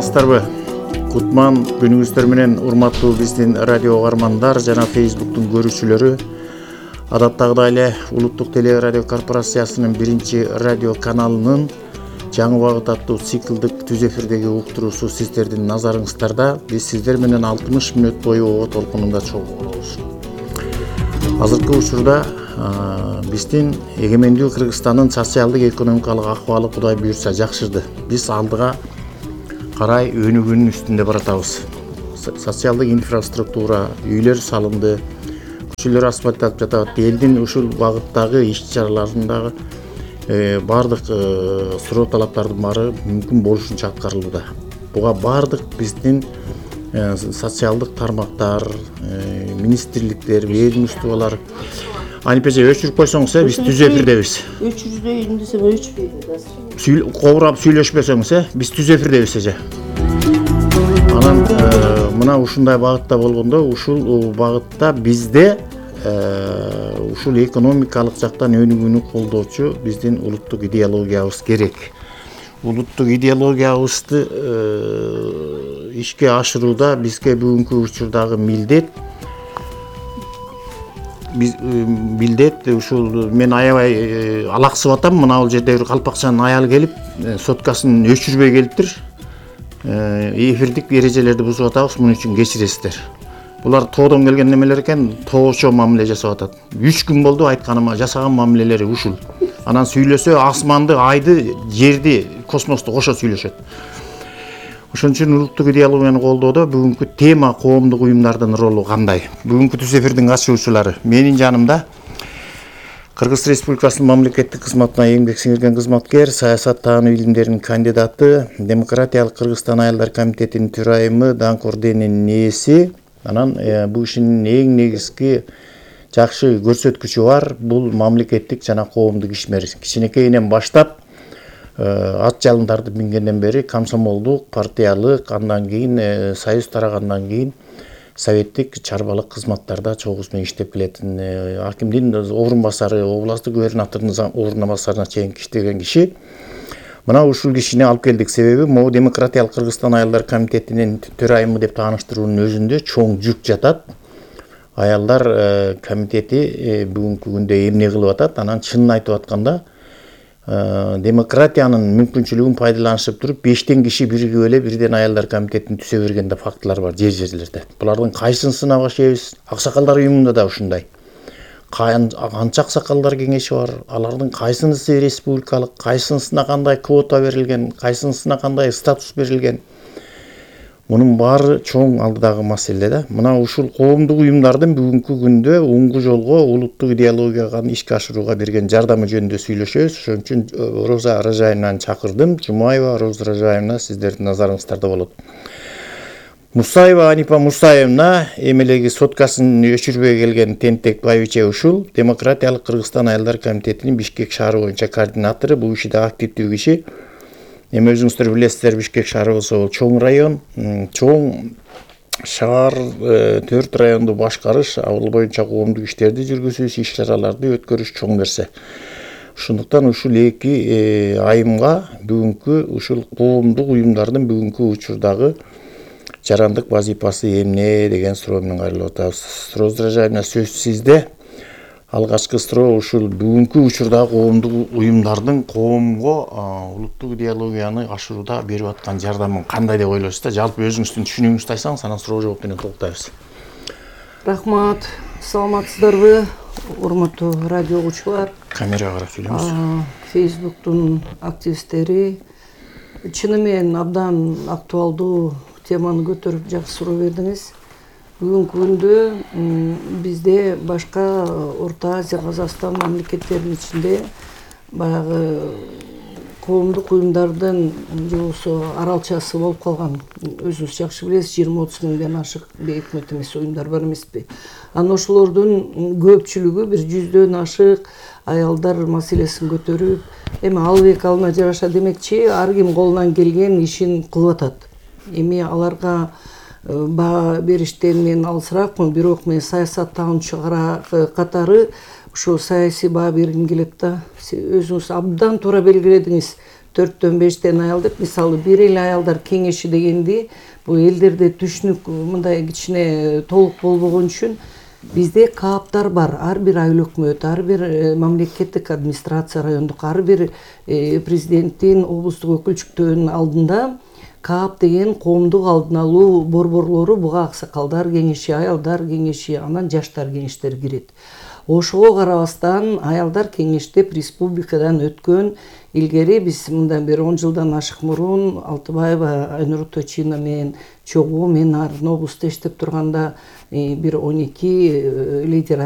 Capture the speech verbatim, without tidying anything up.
саламатсыздарбы? Кутман күнүңүздөр менен урматтуу биздин радио угармандар жана Facebooktун көрүүчүлөрү. Адаттагыдай эле Улуттук телерадио корпорациясынын биринчи радио каналынын жаңы багыт аттуу циклдык түз эфирдеги уктуруусу сиздердин назарыңыздарда. Биз сиздер менен алтымыш мүнөт бою ого толкунунда чогуу болобуз. Азыркы учурда биздин эгемендүү Кыргызстандын социалдык экономикалык акыбалы Кудай буйрса жакшырды. Биз алдыга карай өнүгүүнүн үстүндө баратабыз. Социалдык инфраструктура, үйлөр салынды, көчөлөр асфальтталып жатат. Элдин ушул багыттагы иш-чараларындагы баардык суроо талаптардын баары мүмкүн болушунча аткарылууда. Буга баардык биздин социалдык тармактар, министрликтер, ведомстволор Анипеже өчүрүп койсоңуз, биз түз эфирдебиз. Өчүрүбөйүн десем өчпөйт азыр. Кобурап сүйлөшпөсөңүз, биз түз эфирдебиз эже. Анан мына ушундай багытта болгондо, ушул багытта бизде ушул экономикалык жактан өнүгүүнү колдоочу биздин улуттук идеологиябыз керек. Улуттук идеологиябызды ишке ашырууда бизге бүгүнкү учурдагы милдет биз милдет ушул мен аябай алаксып атам. Мына бул жерде бир калпакчанын аялы келип соткасын өчүрбөй келиптир. Эфирдик эрежелерди бузуп атабыз, муну үчүн кечиресиздер. Булар тоодон келген немелер экен, тоочо мамиле жасап атат. үч күн болду айтканыма, жасаган мамилелери ушул. Анан сүйлөсө асманды, айды, жерди, космосту кошо сүйлөшөт. Ошон үчүн улуттук идеологияны колдоодо бүгүнкү тема коомдук уюмдардын ролу кандай? Бүгүнкү түз эфирдин катышуучулары менин жанымда Кыргыз Республикасынын мамлекеттик кызматына эмгек сиңирген кызматкер, саясаттануу илимдеринин кандидаты, Демократиялык Кыргызстан аялдар комитетинин төрайымы Даңк орденинин ээси. Анан бул ишинин эң негизги жакшы көрсөткүчү бар, бул мамлекеттик жана коомдук ишмер. Кичинекейинен баштап ат жалындарды мингенден бери комсомолдук, партиялык, андан кийин союз тарагандан кийин советтик чарбалык кызматтарда чогуу менен иштеп келетін акимдин орун басары, областтык губернатордун орун басарына чейин иштеген киши. Мына ушул кишини алып келдик, себеби могу Демократиялык Кыргызстан аялдар комитетинин төрайымы деп тааныштыруунун өзүндө чоң жүк жатат. Аялдар комитети бүгүнкү күндө эмне кылып атат? Анан чынын айтып атканда демократиянын мүмкүнчүлүгүн пайдаланышып туруп бештен киши биригип эле бирден аялдар комитетин түзө берген да фактылар бар жер жерлерде. Булардын кайсынысына башайбыз? Аксакалдар уюмунда да ушундай. Канча аксакалдар кеңеши бар? Алардын кайсынысы республикалык, кайсынысына кандай квота берилген, кайсынысына кандай статус берилген? Мунун баары чоң алдыдагы маселе да. Мына ушул коомдук уюмдардын бүгүнкү күндө оңгу жолго улуттук идеологияга ишке ашырууга берген жардамы жөнүндө сүйлөшөбүз. Ошон үчүн Роза Ражаевнаны чакырдым. Жумаева Роза Ражаевна сиздердин назарыңыздарда болот. Мусаева Анипа Мусаевна эмелеги соткасын өчүрбөй келген тентек байбиче ушул Демократиялык Кыргызстан аялдар комитетинин Бишкек шаары боюнча координатору, бул иште активдүү киши. Эми өзүңүздөр билесиздер, Бишкек шаары болсо бул чоң район, чоң шаар, төрт районду башкарыш, ал боюнча коомдук иштерди жүргүзүш, иш-чараларды өткөрүш чоң нерсе. Ошондуктан ушул эки айымга бүгүнкү ушул коомдук уюмдардын бүгүнкү учурдагы жарандык вазифасы эмне деген суроо менен кайрылып атабыз. Роза Ражаевна, сөз сизде. Алгачкы суроо ушул бүгүнкү учурдагы коомдук уюмдардын коомго улуттук идеологияны ашырууда берип аткан жардамы кандай деп ойлойсуз да? Жалпы өзүңүздүн түшүнүгүңүздү айтсаңыз, анан суроо жооп менен толуктайбыз. Рахмат, саламатсыздарбы, урматтуу радио угуучулар? Камерага карап сүйлөңүз. Facebooktун активисттери чыны менен абдан актуалдуу теманы көтөрүп жакшы суроо бердиңиз. Бүгүнкү күндө бизде башка Орто Азия, Казакстан мамлекеттеринин ичинде баягы коомдук уюмдардын же болбосо аралчасы болуп калган. Өзүңүз жакшы билесиз, жыйырма отуз миңден ашык бейөкмөт эмес уюмдар бар эмеспи? Анан ошолордун көпчүлүгү бир жүздөн ашык аялдар маселесин көтөрүп, эми албек алына жараша демекчи, ар ким колунан келген ишин кылып атат. Эми аларга баа бериштен мен алысыракмын, бирок мен саясаттануучу катары ушул саясий баа бергим келет да. Өзүңүз абдан туура белгиледиңиз. төрттөн бештен аял деп, мисалы бир эле аялдар кеңеши дегенди бул элдерде түшүнүк мындай кичине толук болбогон үчүн бизде кааптар бар. Ар бир айыл өкмөт, ар бир мамлекеттик администрация райондук, ар бир президенттин, облустук өкүлчүктөрүнүн алдында каап деген коомдук алдын алуу борборлору, буга аксакалдар кеңеши, аялдар кеңеши, анан жаштар кеңештери кирет. Ошого карабастан аялдар кеңештеп республикадан өткөн. Илгери биз мындан бери он жылдан ашык мурун Алтыбаева Айнур Точина менен чогуу, мен арын облустта иштеп турганда бир он эки лидер